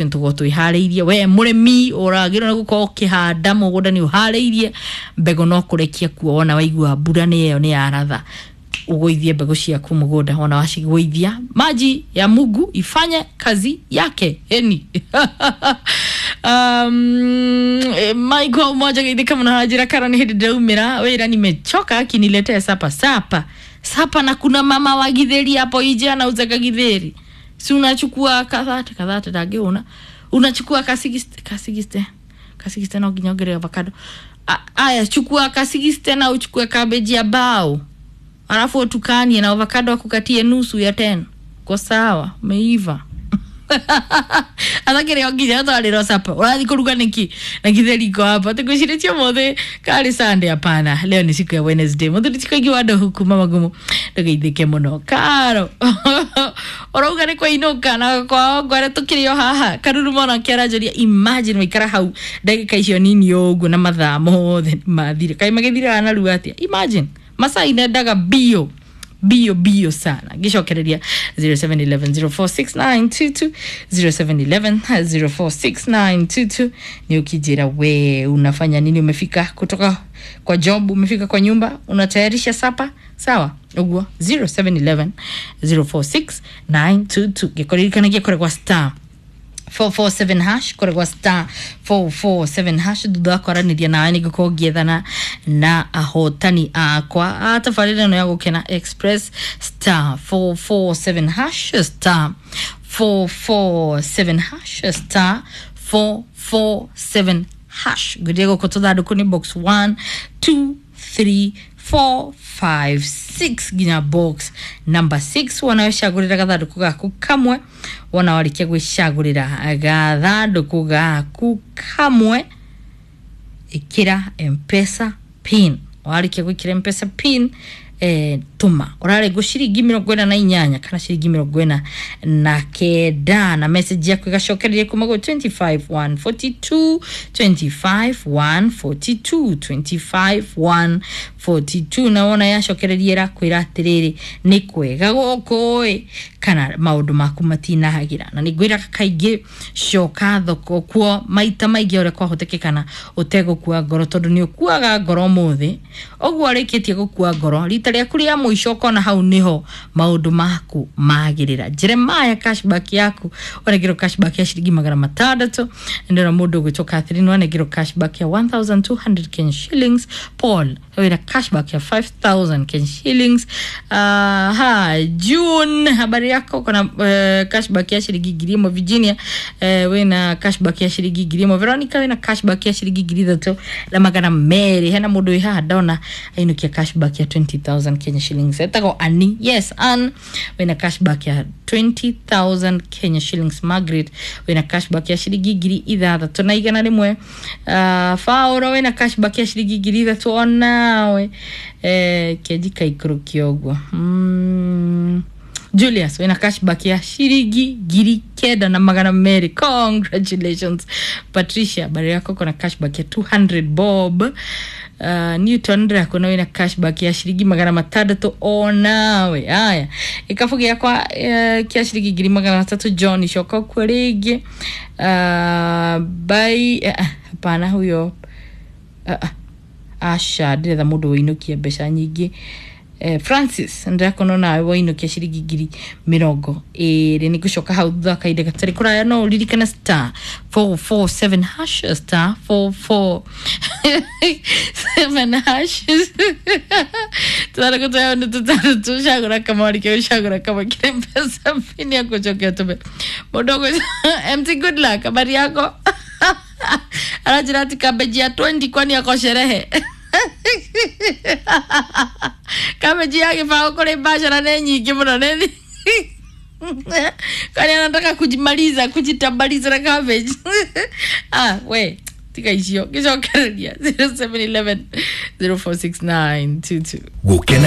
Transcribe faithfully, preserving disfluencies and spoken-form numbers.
Tũkorwo twĩharĩirie. We mũrĩmi ũragĩrwo nĩ gũkorwo ũkĩhanda mũgũnda, nĩ ũharĩirie mbegũ, no kũrekia kuo. Wona waigua mbura nĩ ĩyo nĩ yaratha, ũgũithie mbegũ ciaku mũgũnda. Wona wacigũithia, maji ya Mungu ifanye kazi yake. Eni um, Michael moja geithĩka mũno hanjĩra karo nĩ hĩndĩ ndĩraumĩra wĩra, nimechoka, akiniletea sapa sapa sapa, na kuna mama wa githeri hapo nje anauzaga githeri. Si unachukua kathate kathate ndangĩhũna, unachukua kasigiste kasigiste kasigiste, no nginya ongerere avocado. A- aya chukua kasigiste na uchukue cabbage ya bao, alafu utukanie na avocado, akukatie nusu ya ten ko sawa, umeiva. Athakĩrĩ o nginya twarĩrwo sapa, ũrathiĩ kũruga nĩkĩ na githeri iko hapa tũkwĩcirĩtie ũmũthĩ karĩ Sunday? Hapana, leo ni siku ya Wednesday. Mũthuri ti kaingĩ wa ndohu kuma magumu, ndũgeithĩke mũno. Karo ũrauga nĩ kwainũka na kwao ngware tũkĩrĩ o haha karuru mona kĩaranjũria. Imagine waikara hau ndagĩka icio nini ũguo na mathaa mothe nĩ mathire, kaĩ magĩthiraga narua atĩa? Imagine masaa inendaga bio bio bio sana. Gicokereria zero seven one one zero four six nine two two, zero seven one one zero four six nine two two. Ni ukijira we unafanya nini? Umefika kutoka kwa job, umefika kwa nyumba, unatayarisha sapa, sawa uguo? zero seven one one zero four six nine two two. Gikoririkanagia koregwa star four four seven hash, koragwa star four four seven hash. Thutha wa kwaranĩria nawe nĩ ngũkorwo ngĩethana na ahotani akwa a tabarĩra ĩno ya Gũkena Express. Star four four seven hash, star four four seven hash, star four four seven hash. Ngwĩrire gũkũ tũthandũkũ nĩ box one, two, three, four, five, six nginya box number six. Wona wecagũrĩra gathandũkũ gaku kamwe, wona warĩkia gwĩcagũrĩra gathandũkũ gaku kamwe, ĩkĩra Mpesa PIN. Warĩkia gwĩkĩra Mpesa PIN, eh, tũma ũrarengwo ciringi mĩrongo ĩna na inyanya kana ciringi mĩrongo ĩna na kenda, na message yaku ĩgacokereria kuma gwĩ twenty-five one forty-two, twenty-five one forty-two, twenty-five one forty-two. Na wona yacokereria ĩrakwĩra atĩrĩrĩ, nĩ kwega gũkũ ĩ kana maũndũ maku matinahagĩra. Na nĩ ngwĩraga kaingĩ, coka thoko kuo maita maingĩ ũrĩa kwahotekekana ũtegũkua ngoro, tondũ nĩ ũkuaga ngoro ũmũthĩ ũguo ũrĩkĩtie gũkua ngoro rita rĩaku rĩa mũico, ũkona hau nĩho maũndũ maku magĩrĩra. Jeremiah, cashback yaku wanengerwo cashback ya ciringi magana matandatũ. Ndĩrona mũndũ ũgwĩtwo Catherine wanengerwo cashback ya one thousand two hundred Kenya shillings. Paul wĩna cashback ya five thousand Kenya shillings. uh, ha June, habari yako? Kuna uh, cashback ya ciringi ngiri ĩmwe. Virginia, uh, wĩna cashback ya ciringi ngiri ĩmwe. Veronica, wĩna cashback ya ciringi ngiri ithatũ na magana merĩ. Hena mũndũ wĩ haha ndona ainũkia cashback ya twenty thousand Kenya shillings, etagwo Ani. Yes, Ann, wĩna cashback ya twenty thousand Kenya shillings. Margaret, wĩna cashback ya ciringi ngiri ithathatũ na igana rĩmwe. uh, Fauro, wĩna cashback ya ciringi ngiri ithatũ onawe. eh, kenji kaikũrũkia ũguo. mm. Julius, wĩna cashback ya ciringi ngiri kenda na magana merĩ, congratulations. Patricia, habari yako? Kona cashback ya two hundred bob. uh, Newton, ndĩrakũona wĩna cashback ya ciringi magana matandatũ onawe. Aya, gĩkabũ gĩakwa uh, kĩa ciringi ngiri magana matatũ. John, coka kuo rĩngĩ. uh, bai uh, hapana, huyo uh, uh, aca, ndĩretha mũndũ wĩinũkia mbeca nyingĩ. eh, Francis, ndĩrakona nawe wainũkia ciringi ngiri mĩrongo ĩrĩ. Nĩ ngũcoka hau thutha wa kahinda gatarĩ kũraya. No ũririkane star four four seven hash, star four four seven hash. Tũthandũkũ twayo nĩ tũtandatũ, cagũra kamwe, warĩkia gũcagũra kamwe, kĩrĩ mbeca pini ya gũcokia tũme. Mũndũ ũgwĩtwo M T Good Luck, habari yako? Aranjĩra ati kambeji ya twenty, kwani ako sherehe? Kambeji ya gĩbaũ kũrĩ biacara nĩ nyingĩ mũno, nĩ kwani anataka kujimaliza, kujitambaliza na cabbage? Ah, we tiga icio. Gĩcokereria zero seven one one zero four six nine two two. Gũkena.